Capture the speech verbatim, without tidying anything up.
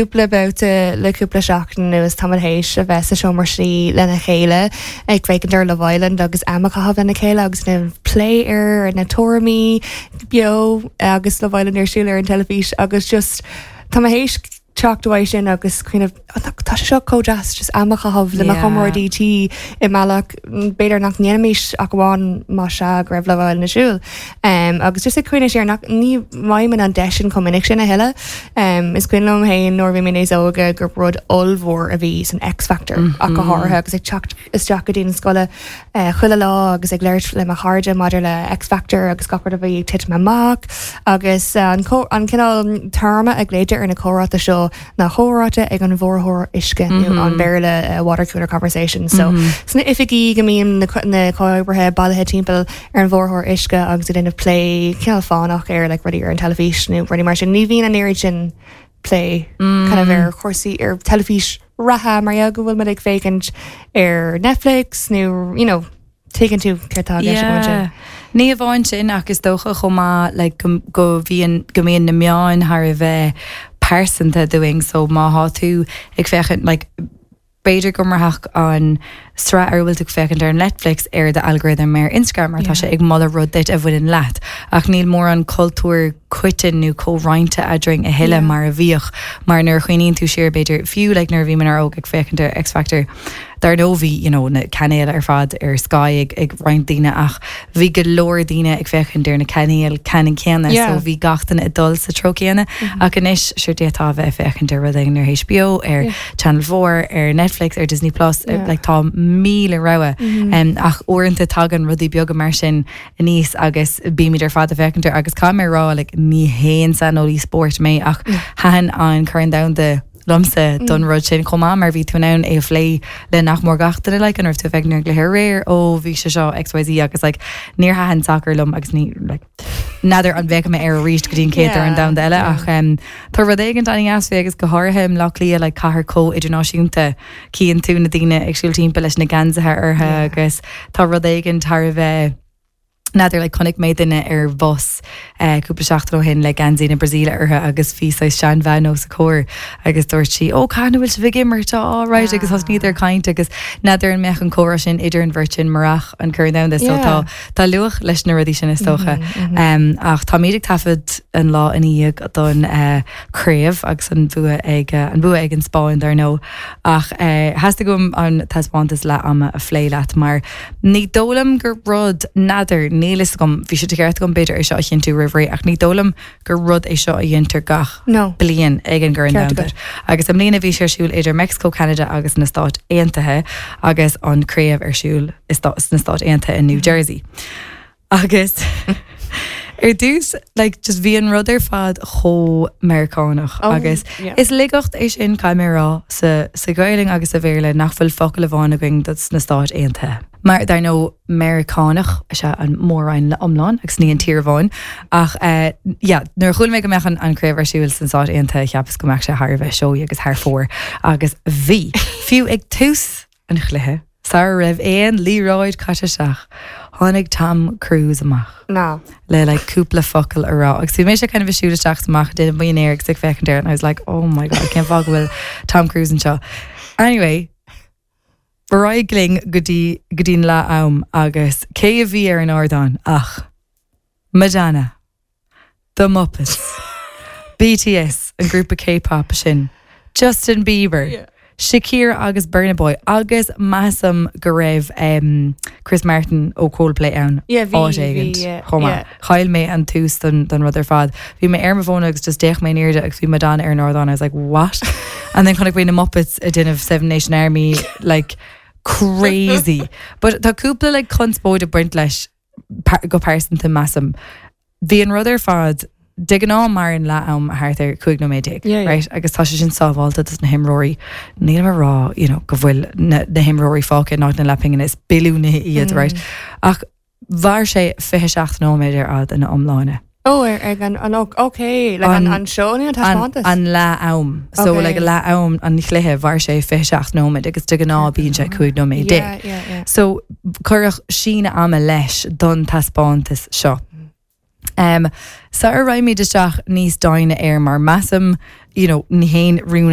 Cúpla babhta le cúpla seachtain anuas tá théis a bheith sa seomra suí lena chéile ag féachaint ar Love Island agus am a chaitheamh lena chéile agus na plé ar na tuairimí beo agus Love Island ar siúl ar an teilifís agus just tá théis teacht uaidh sin agus kind of tá sé seo chomh deas just am a chaitheamh le comráidí tí i mbealach b'fhéidir nach ndéanfaimis ach amháin má sea go raibh Love Island ar siúl. Um, agus just ag cuimhneamh siar nach ní bhfaighimid an deis sin chomh minic sin a thuilleadh. Um, is cuimhin liom féin nuair bhí mé níos óige gur rud ollmhór a bhí san X Factor mm -hmm. ach go háirithe agus ag teacht isteach go dtí an scoil uh, chuile lá agus ag labhairt le mo chairde maidir le X Factor agus gach rud a bhí ag titim amach agus uh, an, an cineál téarma a ghlaoitear ar na comhráite seo ná comhráite ag an bhfuaraitheoir uisce mm -hmm. an Béarla uh, water cooler conversation so mm -hmm. sna oifigí go mbíonn na, na comhoibrithe bailithe timpeall ar an bhfuaraitheoir uisce agus ag déanamh plé cineál fánach ar like, rudaí ar an teilifís nó rudaí mar sin ní bhíonn an oiread sin plé mm. kind of ar chúrsaí ar teilifís reatha mar go bhfuil muid ag féachaint ar Netflix nó you know, tuigeann tú céard atá Yeah. Ní amháin sin ach is dócha chomh maith like, go, go bhíonn go mbíonn na meáin thar a bheith pearsanta dúinn so má tá tú ag féachaint like, b'fhéidir go mbraithfeadh an sraith ar bhfuil tú féachaint ar Netflix ar do algorithm ar Instagram mar tá sé ag moladh rud duit a bhaineann leat ach níl mórán cultúr coiteann nó comhroinnte eadrainn a thuilleadh mar a bhíodh mar nuair a chuimhníonn tú siar b'fhéidir fiú like, nuair a bhí mé óg ag féachaint ar X Factor Dar ndóigh bhí you know, na cainéil ar fad ar Sky ag, ag roinnt daoine ach bhí go leor daoine ag féachaint ar na cainéil ceannann céanna Yeah. so bhí gach duine ag dul sa treo céanna mm -hmm. ach anois sure d'fhéadfá a bheith féachaint ar rud éigin ar HBO ar yeah. Channel Four ar Netflix ar Disney Plus Yeah. like, tá míle rogha mm -hmm. um, ach uaireanta tagann rudaí beaga mar sin aníos agus bímid ar fad ag féachaint air agus caithfidh mé rá like, ní haon saineolaí spóirt mé ach thaitin an Corn Domhanda liomsa don rud sin chomh maith mar bhí tú in ann é a phlé le nach mór gach duine like, an raibh tú ag féachaint ar an aréir ó bhí sé seo XYZ agus like, níor thaitin soccer liom agus ní like, n'fheadar an bhféachfaidh mé air arís go dtí an chéad Chorn Domhanda eile ach um, tá rud éigin an-deas faoi agus go háirithe i mBleá Cliath like, cathair chomh idirnáisiúnta cíonn tú na daoine ag siúl timpeall leis na geansaithe orthu Yeah. agus tá rud éigin thar a bheith N'fheadar like, chonaic mé duine ar bhus eh, cúpla seachtain ó shin le geansaí na Brasaíle orthu agus bhí sé seanbhean os a comhair agus dúirt sí ó cá bhfuil sibh ag imirt á right agus thosnaíodar ag caint agus n'fheadar an mbeadh an comhrá sin idir an bheirt sin murach an Corn Domhanda so Yeah. tá tá luach leis na rudaí sin is dócha um, ach táimid ag taifead an lá ina dhiaidh don uh, craobh agus an bua ag uh, an bua ag an Spáinn dar ndóigh ach uh, theastaigh uaim an taispeántas leath ama a phlé leat mar ní dóigh liom gur rud n'fheadar níl a fhios agam bhí sé de cheart agam b'fhéidir é seo a chinntiú roimh ré ach ní dóigh liom gur rud é seo a dhéantar gach No. bliain ag an gCorn Ceart Domhanda. Agus i mbliana bhí sé ar siúl idir Mexico, Canada agus na Stáit Aontaithe agus an craobh ar siúl i stá- sna Stáit Aontaithe in New Jersey. Agus ar dtús like, just bhí an rud ar fad chomh Meiriceánach Oh, agus yeah. is laigeacht é sin caithfidh mé rá sa, sa Ghaeilge agus sa Bhéarla nach bhfuil focal amháin againn dos na Stáit Aontaithe. Mar dar ndóigh Meiriceánach is ea an mór-roinn iomlán agus ní an tír amháin ach uh, yeah, nuair a chuala mé go mbeadh an, an craobh ar siúl sna Stáit Aontaithe cheapas go mbeadh sé thar a bheith seoigh agus thar fóir agus bhí fiú ag tús an chluiche sara raibh aon liathróid caite isteach tháinig Tom Cruise amach Ná. le like cúpla focal a rá agus bhí mé kind of siúl isteach amach déanamh buin agus ag féachaint air and I was like oh my god cén fáth go bhfuil Tom Cruise anseo anyway ar aghaidh linn go dtí go dtí'n leath am agus cé a bhí ar an ardán ach Madonna The Muppets BTS an grúpa K-pop sin Justin Bieber Yeah. Shakira agus Burna Boy agus measaim go raibh um, Chris Martin ó Coldplay ann Yeah, bhí- áit éigin bhí, yeah, chomh maith. yeah. Chaill mé an tús don, don rud ar fad. Bhí mé ar mo fón agus just d'fhéach mé in airde agus bhí Madonna ar an ardán I was like what? And then chonaic mé na Muppets ag déanamh Seven Nation Army like crazy. But tá cúpla like conspóid ag baint leis par go pearsanta measaim. Bhí an rud ar fad de ghnáth mar an leath am thart ar cúig nóiméad déag, Yeah, yeah. right? agus tá sé sin sábháilte dos na himreoirí níl mé ag rá you know, go bhfuil na, na himreoirí fágtha in áit na leathphingine is billiúnaithe iad mm. right? Ach mhair sé fiche seacht nóiméad ar fad ina iomláine. Oh ar ag an an okay like an An- an show nó an An, taispeántas an leath am so Okay. like leath am an chluiche mhair sé fiche seacht nóiméad agus de ghnáth bíonn sé cúig nóiméad déag. yeah, yeah, yeah. So cuireadh síneadh ama leis don taispeántas seo. Um, Sara raghaimid isteach níos doimhne air mar measaim you know, ní haon rún